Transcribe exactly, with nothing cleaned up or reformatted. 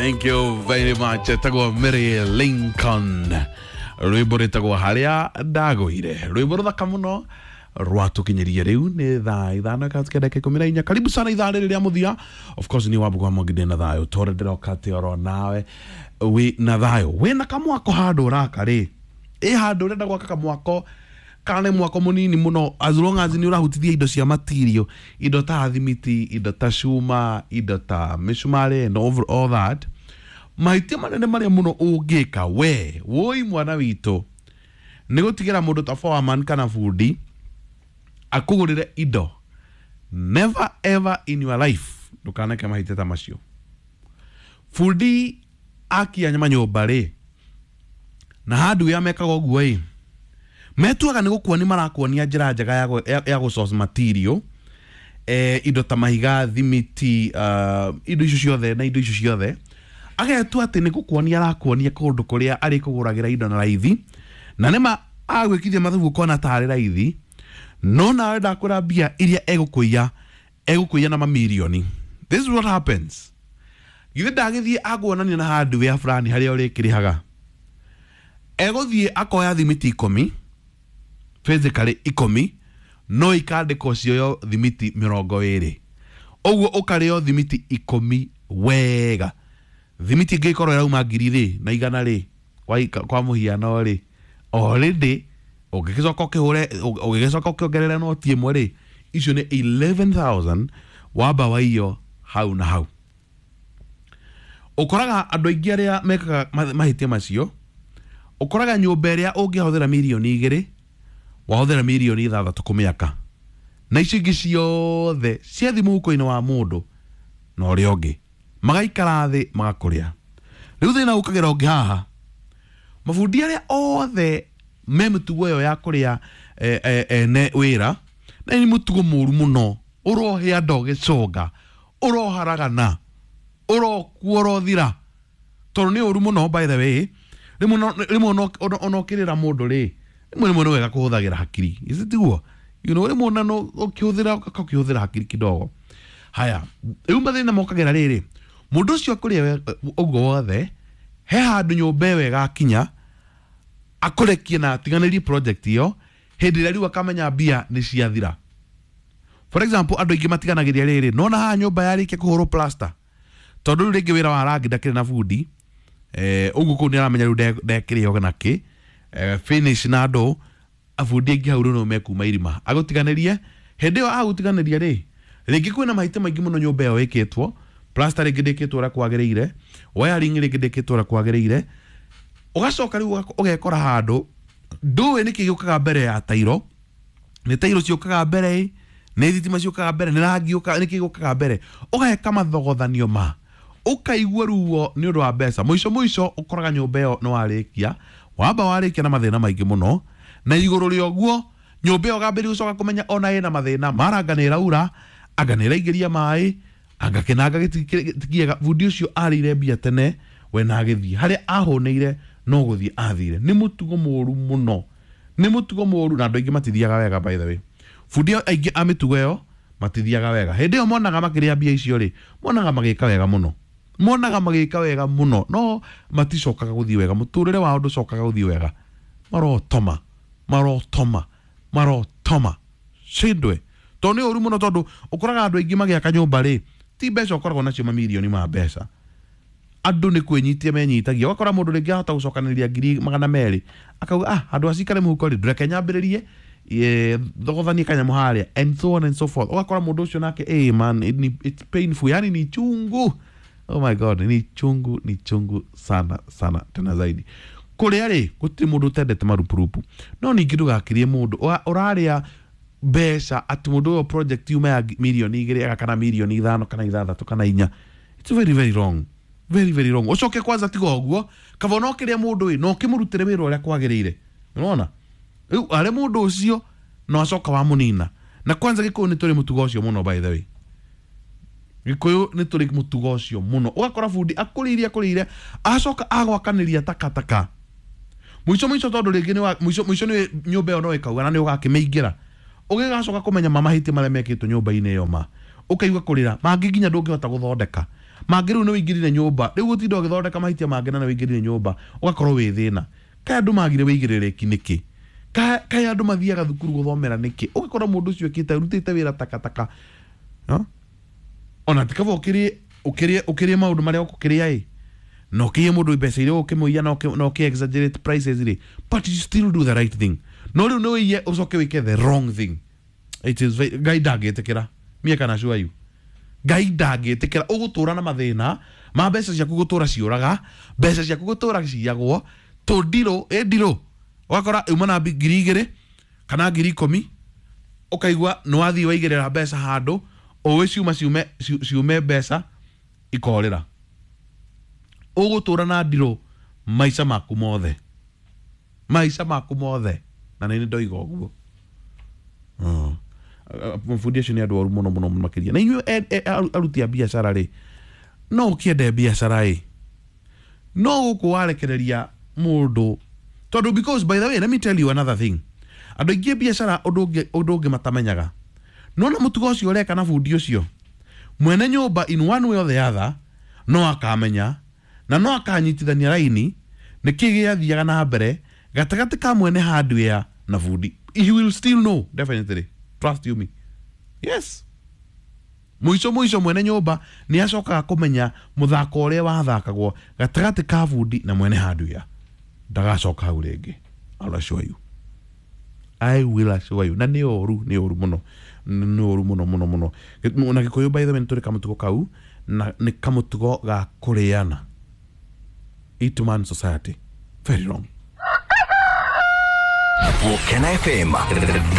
Thank you very much. Etagwo Mary Lincoln, rwimbo rwĩtagwo "Harĩa Ndagũire", rwimbo rũthaka mũno rwatũkinyĩria. Rĩu nĩ thaa ithano ĩkatikia ndagĩka ikũmi na inya. Karibu sana ithaa rĩrĩ rĩa mũthia. Of course nĩ wambugwa mwangi, ndĩ na thayũ tondũ ndĩroka atĩ oro nawe wĩ na thayũ. Wĩna kamwako handũ ũraka rĩ, ĩ handũ ũrenda gwaka kamwako kana nĩ mwako mũnini mũno, as long as nĩ ũrahutithia indo cia material, indo ta thimiti, indo ta cuma, indo ta mĩcumarĩ and all, all that, mahĩtia manene marĩa mũno ũngĩka we woi mwana witũ nĩ gũtigĩra mũndũ ta foreman kana bundi akũgũrĩre indo. Never ever in your life ndũkaneke mahĩtia ta macio. Bundi akia manyũmba rĩ, na hardware mekaga ũguo ĩ, metuaga nĩ gũkuonia marakuonia njĩra njega ya, gũ- ya, ya gũ source material, eh, indo ta mahiga, thimiti, uh, indo icio ciothe na indo icio ciothe. Agetua atĩ nĩ gũkuonia arakuonia kũndũ kũrĩa arĩkũgũragĩra indo na raithi, na nĩma agwĩkithia mathabu ũkona tarĩ raithi, no nawe ndakwĩra mbia iria egũkũiya, egũkũiya na mamirioni. This is what happens. Githĩ ndagĩthiĩ aguonania na hardware fulani harĩa ũrĩkĩrĩhaga, egũthiĩ akoya thimiti ikũmi, physically ikũmi, no ikandĩkwo cioyo thimiti mĩrongo ĩrĩ. Ũguo ũkarĩo thimiti ikũmi wega. Thimiti ĩngĩkorwo ĩrauma ngiri rĩ na igana rĩ, kwa, kwa mũhiano rĩ, already ũngĩgĩcoka ũkĩhũre, ũgĩgĩcoka ũkĩongerere noti ĩmwe rĩ, icio nĩ ikũmi na ĩmwe wamba waiyo hau na hau. Ũkoraga andũ aingĩ arĩa mekaga ma- mahĩtia macio, ũkoraga nyũmba ĩrĩa ũngĩhũthĩra mirioni igĩrĩ, wahũthĩra mirioni ithathatũ kũmĩaka, na icio ingĩ ciothe ciathi mũhuko-inĩ wa mũndũ na ũrĩa ũngĩ magaikara thĩ magakũrĩa. Rĩu thĩna ũkagĩra ũngĩ haha, mabundi arĩa othe me mĩtugo ĩyo ya kũrĩa eh, eh, ene wĩra, na nĩ mũtugo mũru mũno, ũrohĩa ndogĩconga, ũroharagana, ũrokua, ũrothira, tondũ nĩ ũru mũno. By the way, rĩmwe no- rĩmwe ona- ona ona ũkĩrĩra mũndũ rĩ, rĩmwe rĩmwe nĩ wega kũhũthagĩra hakiri. Is tiguo? you know rĩmwe ona no ũkĩhũthĩra ũkĩhũthĩra hakiri kidogo. Haya, rĩu mathĩna mokagĩra rĩrĩ, mũndũ ũcio akũrĩa we- ũguo wothe, he handũ nyũmba ĩyo ĩgakinya akũrekie na atiganĩrie project ĩyo hĩndĩ ĩrĩa rĩu akamenya mbia nĩ ciathira. For example, andũ aingĩ matiganagĩria rĩrĩ, nona haha nyũmba yarĩkia kũhũrwo plaster, tondũ rĩu rĩngĩ wĩra wa rangi ndakĩrĩ na bundi, eh, ũguo kũu nĩ aramenya rĩu nde- ndekĩrĩo nakĩ, eh, finish na andũ abundi aingĩ hau rĩu no mekuma irima agũtiganĩrie. Hĩndĩ ĩyo agũtiganĩria rĩ, rĩngĩ kwĩna mahĩtia maingĩ mũno nyũmba ĩyo ĩkĩtwo plaster, rĩngĩ ndĩkĩtwo ũrĩa kwagĩrĩire, wiring rĩngĩ ndĩkĩtwo ũrĩa kwagĩrĩire. Ũgacoka rĩu ũgako- ũgekora handũ ndũĩ nĩkĩ gĩũkaga mbere ya tairo, nĩ tairo ciũkaga mbere ĩ, nĩ thitima ciũkaga mbere, nĩ rangi ũkaga, nĩkĩ gĩũkaga mbere? Ũgeka mathogothanio ma ũkaigua ruo nĩ ũndũ wa mbeca. Mũico mũico ũkoraga nyũmba ĩyo nĩ warĩkia, wamba warĩkia na mathĩna maingĩ mũno, na igũrũ rĩa ũguo nyũmba ĩyo ũgambĩrĩria gũcoka kũmenya ona ĩna mathĩna mara, anga nĩ ĩraura, anga nĩ ĩraingĩria maĩ, anga kĩnanga gĩtikiega. Bundi ũcio arĩire mbia tene we na agĩthiĩ harĩa ahũnĩire, no gũthiĩ athire. Nĩ mũtugo mũru mũno, nĩ mũtugo mũru, na andũ aingĩ matithiaga wega. By the way, bundi aingĩ a mĩtugo ĩyo matithiaga wega. Hĩndĩ ĩyo monaga makĩrĩa mbia icio rĩ, monaga magĩka wega mũno, monaga magĩka wega mũno, no maticokaga gũthiĩ wega. Mũtũrĩre wao ndũcokaga gũthiĩ wega. Marotoma, marotoma, marotoma cindwe, tondũ nĩ ũru mũno, tondũ ũkoraga andũ aingĩ magĩaka nyũmba rĩ, ti mbeca ũkoragwo nacio, mamirioni ma mbeca, andũ nĩ kwĩnyitia menyitagia. Ũgakora mũndũ rĩngĩ ahota gũcokanĩrĩria ngiri magana merĩ, akauga, "Ah, handũ acikare mũhuko rĩ, ndũreke nyambĩrĩrie, eh, thogothanie kanyamũ harĩa," and so on and so forth. Ũgakora mũndũ ũcio nake, hey man, it, ni- it's painful, yani ni chungu. Oh my God, ni chungu, ni chungu sana sana tena zaidi. Kũrĩa rĩ, gũtirĩ mũndũ ũtendete marupurupu, no ningĩ ndũgakirie mũndũ Ũra- ũrarĩa mbeca atĩ mũndũ ũyũ project yuma ya mirioni igĩrĩ ega kana mirioni ithano kana ithathatũ kana inya. It's very very wrong, very very wrong. Ũcoke kwanza tiga ũguo, kaba no kĩrĩa mũndũ ĩ no ũkĩmũrutĩre wĩra ũrĩa kwagĩrĩire. Nĩwona rĩu arĩ mũndũ ũcio no acoka wamũnina. Na kwanza Gĩkũyũ nĩ tũrĩ mũtugo ũcio mũno. By the way, Gĩkũyũ nĩ tũrĩ mũtugo ũcio mũno. Ũgakora bundi akũrĩire, akũrĩire, acoka agwakanĩria takataka mũico mũico, tondũ rĩngĩ nĩ wa- mũico mũico nĩ nyũmba ĩyo no ĩkauga na nĩ ũgakĩmĩingĩra, ũgĩgacoka kũmenya ma mahĩtia marĩa mekĩtwo nyũmba-inĩ ĩyo, ma ũkaigua kũrĩra mangĩ nginya ndũngĩhota gũthondeka. Mangĩ rĩu nĩ wĩingĩrire nyũmba, rĩu gũtinda ũgĩthondeka mahĩtia mangĩ na nĩ wĩingĩrire nyũmba, ũgakorwo wĩ thĩna. Kaĩ andũ magire wĩigĩrĩrĩki nĩkĩ? Kaĩ andũ mathiaga thukuru gũthomera nĩkĩ? Ũgakora mũndũ ũcio ĩkĩte arutĩte wĩra takataka, no? Ona ti kaba ũkĩrĩe ũkĩrĩe ũkĩrĩe maũndũ marĩa ũkũkĩrĩa ĩ, na ũkĩiye mũndũ mbeca iria ũkĩmũiya na ũkĩ- na ũkĩ exaggerate prices rĩ, but you still do the right thing. No rĩu nĩ ũiye ũcoke wĩke the wrong thing. It is very, Ngai ndangĩtĩkĩra. Mie kana assure you, Ngai ndangĩtĩkĩra. Ũgũtũra na mathĩna ma mbeca ciaku gũtũra ciũraga, mbeca ciaku gũtũra ciyagwo tũndirũ ĩ ndirũ. Ũgakora uma na ngiri igĩrĩ kana ngiri ikũmi, ũkaigua nĩ wathiĩ waigĩrĩra mbeca handũ ũĩ ciuma ciume ciume mbeca ikorĩra. Ũgũtũra na ndirũ maica maku mothe, maica maku mothe. Na nĩ ndoiga ũguo. Mabundi acio nĩ andũ oru mũno mũno makĩria. Na inyuĩ aruti a biacara rĩ, no ũkĩende biacara ĩ, no gũkũ warekereria mũndũ tondũ, because by the way, let me tell you another thing, andũ aingĩ biacara ũndũ ũngĩ ũndũ ũngĩ matamenyaga, nona mũtugo ũcio ũreka na bundi ũcio mwene nyũmba, in one way or the other no akamenya na no akanyitithania raini nĩkĩ gĩathiaga na mbere gatagatĩ ka mwene hardware na bundi. He will still know, definitely, trust you me. Yes, mũico mũico mwene nyũmba nĩ acokaga kũmenya mũthako ũrĩa wathakagwo gatagatĩ ka bundi na mwene hardware. Ndagacoka hau rĩngĩ. I'll assure you, I will assure you. Na nĩ ũru, nĩ ũru mũno, nĩ ũru mũno mũno mũno. Na Gĩkũyũ, by the way, nĩ tũrĩ kamũtugo kau, na nĩ kamũtugo ga kũrĩana. Eat man society, very wrong. Volcano F M.